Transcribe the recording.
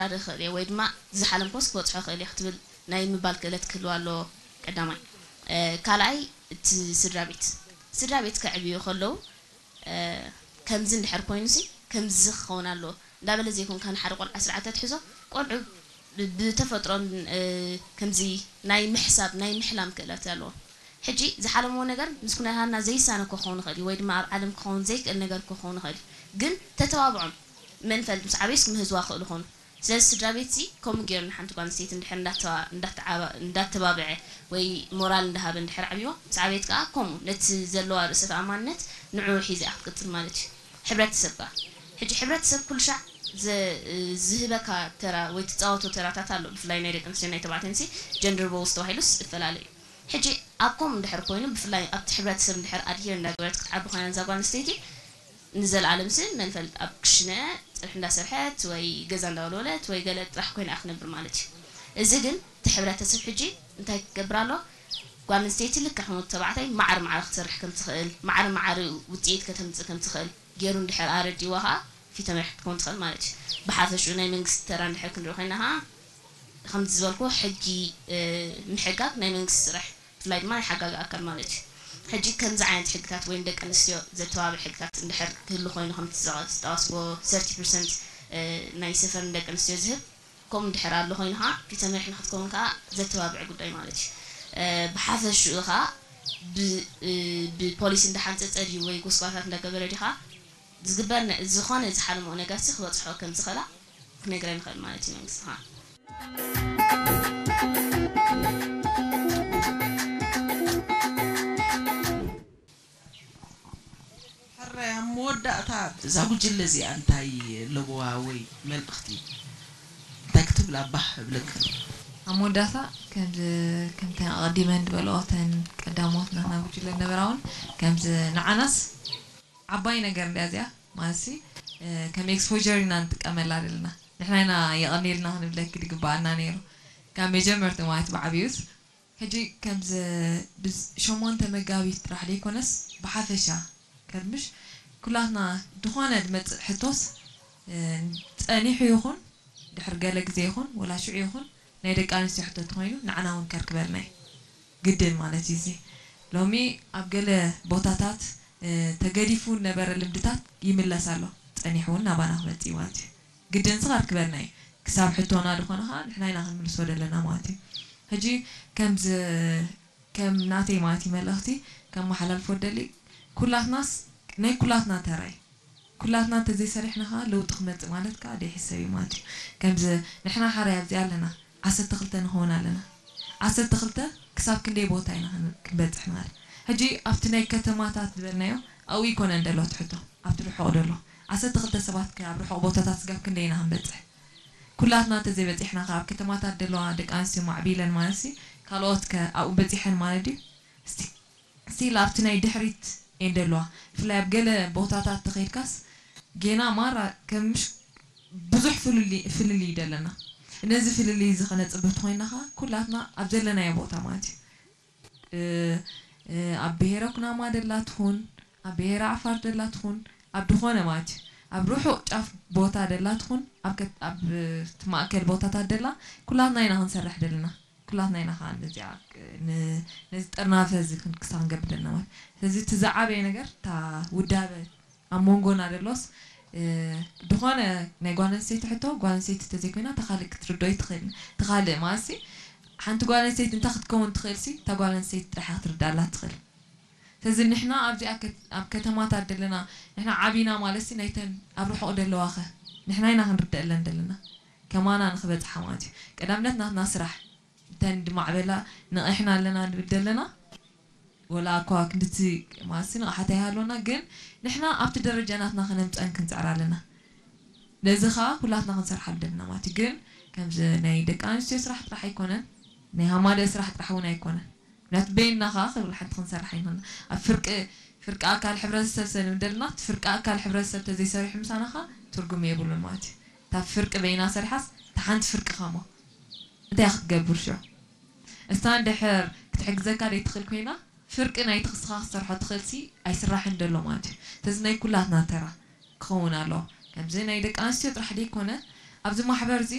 ክወዳደር ይኽእል እየ ወይ ድማ ዝሓለምክዎስ ክበፅሖ ይኽእል እየ ክትብል ናይ ምባል ክእለት ክህልዋ ኣለዎ። ቀዳማይ። ካልኣይ፣ እቲ ስድራ ቤት፣ ስድራ ቤት ከዕብዩ ከለዉ ከምዚ እንድሕር ኮይኑ ሲ ከምዚ ክኸውን ኣለዎ እንዳበለ ዘይኮንካ፣ ንሓደ ቆልዓ ስርዓት ተትሕዞ፣ ቆልዑ ብተፈጥሮን ከምዚ ናይ ምሕሳብ ናይ ምሕላም ክእለት ኣለዎም። ሕጂ ዝሓለምዎ ነገር ምስ ኩነታትና ዘይሳነ ክኸውን ይኽእል እዩ፣ ወይ ድማ ኣብ ዓለም ክኸውን ዘይክእል ነገር ክኸውን ይኽእል እዩ። ግን ተተባብዖም፣ መን ፈልጥ፣ ምስ ዓበዩስ ክምህዝዋ ክእሉ ይኾኑ። ስለዚ ስድራ ቤትሲ ከምኡ ገይሩ ንሓንቲ ጓል ኣንስተይቲ እንድሕር እንዳተባብዐ ወይ ሞራል እንዳሃበ እንድሕር ዓብይዋ፣ ምስ ዓበየት ከዓ ከምኡ ነቲ ዘለዋ ርእሰ ተኣማንነት ንዕኡ ሒዛ እያ ክትቅፅል ማለት እዩ። ሕብረተሰብ ከዓ፣ ሕጂ ሕብረተሰብ ኩሉ ሻዕ ዝህበካ ተራ ወይ ትፃወቶ ተራታት ኣሎ። ብፍላይ ናይ ደቂ ኣንስትዮ ናይ ተባዕትዮንሲ ጀንደር ሮልስ ተባሂሉስ እፈላለ እዩ። ሕጂ ኣብ ከምኡ እንድሕር ኮይኑ፣ ብፍላይ ኣብቲ ሕብረተሰብ እንድሕር ኣድሄር እንዳገበረት ክትዓቢ ኮይና እዛ ጓል ኣንስተይቲ፣ ንዘለኣለም ሲ መን ፈልጥ ኣብ ክሽነ ፀብሒ እንዳሰርሐት ወይ ገዛ እንዳወልወለት ወይ ገለ ጥራሕ ኮይና ክትነብር ማለት እዩ። እዚ ግን እቲ ሕብረተሰብ ሕጂ እንታይ ክገብር ኣሎ? ጓል ኣንስተይቲ ልክዕ ከም ወዲ ተባዕታይ ማዕረ ማዕረ ክትሰርሕ ከም ትኽእል፣ ማዕረ ማዕረ ውፅኢት ከተምፅእ ከም ትኽእል ገይሩ እንድሕር ኣረዲዋ ከዓ ፊተ መሪሕ ክትከውን ትኽእል ማለት እዩ። ብሓፈሽኡ ናይ መንግስቲ ተራ እንድሕር ክንርኢ ኮይና ከዓ ከምቲ ዝበልኩ ሕጊ ምሕጋግ ናይ መንግስቲ ስራሕ፣ ብፍላይ ድማ ናይ ሓጋጊ ኣካል ማለት እዩ። ሕጂ ከምዚ ዓይነት ሕግታት ወይ ንደቂ ኣንስትዮ ዘተባብዕ ሕግታት እንድሕር ክህሉ ኮይኑ፣ ከምቲ ዝጠቀስዎ ሰርቲ ፐርሰንት ናይ ሰፈር ንደቂ ኣንስትዮ ዝህብ፣ ከምኡ እንድሕር ኣሎ ኮይኑ ከዓ ፊተ መሪሕ ንክትከውን ከዓ ዘተባብዕ ጉዳይ ማለት እዩ። ብሓፈሽኡ ከዓ ብፖሊሲ እንዳሓንፀፀ ድዩ ወይ ጎስጓሳት እንዳገበረ ድዩ ከዓ ዝግበር ዝኾነ ዝሓለምኦ ነገርሲ ክበፅሖ ከም ዝኽእላ ክነግረን ይኽእል ማለት እዩ መንግስቲ ከዓ። ሕራይ ኣብ መወዳእታ እዛ ጉጅለ እዚኣ እንታይ ኣለዋ ወይ መልእኽቲ እንታይ ክትብል ኣባህ እብለካ? ኣብ መወዳእታ ከምዚ ከምተን ኣቐዲመን ዝበልኦ እተን ቀዳሞት ናትና ጉጅለ ዝነበራ እውን ከምዚ ንዓናስ ዓባይ ነገር እንድያ እዚኣ ማለት ሲ ከም exposure ኢና ንጥቀመላ ዘለና ንሕና ኢና የቐንየልና ክንብለኪ ዝግበኣና ነይሩ ካብ መጀመርትኡ ማለት ብዓብዩስ ሕጂ ከምዚ ብሸሞንተ መጋቢት ጥራሕ ዘይኮነስ ብሓፈሻ ከርምሽ ኩላትና ዝኾነ ዝመፅእ ሕቶስ ፀኒሑ ይኹን ድሕሪ ገለ ግዜ ይኹን ወላ ሽዑ ይኹን ናይ ደቂ ኣንስትዮ ሕቶ እንተኾይኑ ንዓና እውን ከርክበልና እዩ ግድን ማለት እዩ እዚ ሎሚ ኣብ ገለ ቦታታት ተገዲፉ ነበረ ልምድታት ይምለስ ኣሎ ፀኒሑ እውን ናባና ክመፅእ እዩ ማለት እዩ ግድን እዚ ከርክበልና እዩ ክሳብ ሕቶና ዝኾነ ከዓ ንሕና ኢና ክንምልሶ ዘለና ማለት እዩ ሕጂ ከምዚ ከም ናተይ ማለት እዩ መልእኽቲ ከመሓላልፎ ደሊ ኩላትናስ ናይ ኩላትና ተራ እዩ ኩላትና እንተዘይሰሪሕና ከዓ ለውጢ ክመፅእ ማለት ከዓ ዘይሕሰብ እዩ ማለት እዩ ከምዚ ንሕና ሓራይ ኣብዚኣ ኣለና ዓሰርተ ክልተ ንኸውን ኣለና ዓሰርተ ክልተ ክሳብ ክንደይ ቦታ ኢና ክንበፅሕ ንኽእል ሕጂ ኣብቲ ናይ ከተማታት ዝበልናዮ ኣብኡ ይኮነን ደሎ ትሕቶ ኣብቲ ርሑቕ ደሎ ዓሰርተ ክልተ ሰባት ከ ኣብ ርሑቕ ቦታታት ስጋብ ክንደይ ኢና ክንበፅሕ ኩላትና እንተዘይበፂሕና ከ ኣብ ከተማታት ደለዋ ደቂ ኣንስትዮ ማዕቢለን ማለትሲ ካልኦት ከ ኣብኡ በፂሐን ማለት ድዩ እስቲ still ኣብቲ ናይ ድሕሪት እየን ደለዋ ብፍላይ ኣብ ገለ ቦታታት ተኸይድካስ ጌና ማራ ከምሽ ብዙሕ ፍልልይ እዩ ደለና ነዚ ፍልልይ እዚ ከነፅብህ ተኾይንና ከዓ ኩላትና ኣብ ዘለናዮ ቦታ ማለት እዩ ኣብ ብሄረ ኩናማ ደላ ትኹን ኣብ ብሄረ ዓፋር ደላ ትኹን ኣብ ድኾነ ማለት እዩ ኣብ ርሑቕ ጫፍ ቦታ ደላ ትኹን ኣብ ማእከል ቦታታት ደላ ኩላትና ኢና ክንሰርሕ ደለና ኩላትና ኢና ከዓ ነዚኣ ነዚ ጥርናፈ እዚ ክሳ ክንገብር ደለና ማለት ስለዚ እቲ ዝዓበየ ነገር እታ ውዳበ ኣብ መንጎና ደሎስ ዝኾነ ናይ ጓል ኣንስተይቲ ሕቶ ጓል ኣንስተይቲ እንተዘይኮይና እታ ካልእ ክትርድኦ ኣይትኽእልን። እታ ካልእ ማለትሲ ሓንቲ ጓል ኣንስተይቲ እንታይ ክትከውን ትኽእልሲ እታ ጓል ኣንስተይቲ ጥራሕ እያ ክትርድኣላ ትኽእል። ስለዚ ንሕና ኣብዚኣ ኣብ ከተማታት ደለና ንሕና ዓቢና ማለትሲ ናይተን ኣብ ርሑቕ ደለዋኸ ንሕና ኢና ክንርደኣለን ደለና ከማና ንኽበፅሓ ማለት እዩ። ቀዳምነት ናትና ስራሕ እተን ዝማዕበላ ነቒሕና ኣለና ንብል ዘለና ወላ እኳ ክንድቲ ማለትሲ ንቕሓት ኣይሃልወና ግን ንሕና ኣብቲ ደረጃ ናትና ከነምፀን ክንፅዕር ኣለና ነዚ ከዓ ኩላትና ክንሰርሓሉ ደለና ማለት እዩ ግን ከምዚ ናይ ደቂ ኣንስትዮ ስራሕ ጥራሕ ኣይኮነን ናይ ሃማደ ስራሕ ጥራሕ እውን ኣይኮነን ምክንያቱ በይንና ከዓ ክብል ሓንቲ ክንሰርሕ ኣይንኽእልና ኣብ ፍርቂ ፍርቂ ኣካል ሕብረተሰብ ሰ ንብል ደለና እቲ ፍርቂ ኣካል ሕብረተሰብ ተዘይሰሪሑ ምሳና ከዓ ትርጉም የብሉን ማለት እዩ እታ ፍርቂ በይና ሰሪሓስ እታ ሓንቲ ፍርቂ ከሞ እንታይ ክትገብር ሽዑ እሳ እንድሕር ክትሕግዘካ ዘይትኽእል ኮይና ፍርቂ ናይቲ ክስኻ ክትሰርሖ ትኽእልሲ ኣይስራሕን ደሎ ማለት እዩ። ስለዚ ናይ ኩላትና ተራ ክኸውን ኣለዎ። ከምዚ ናይ ደቂ ኣንስትዮ ጥራሕ ደይኮነ ኣብዚ ማሕበር እዚ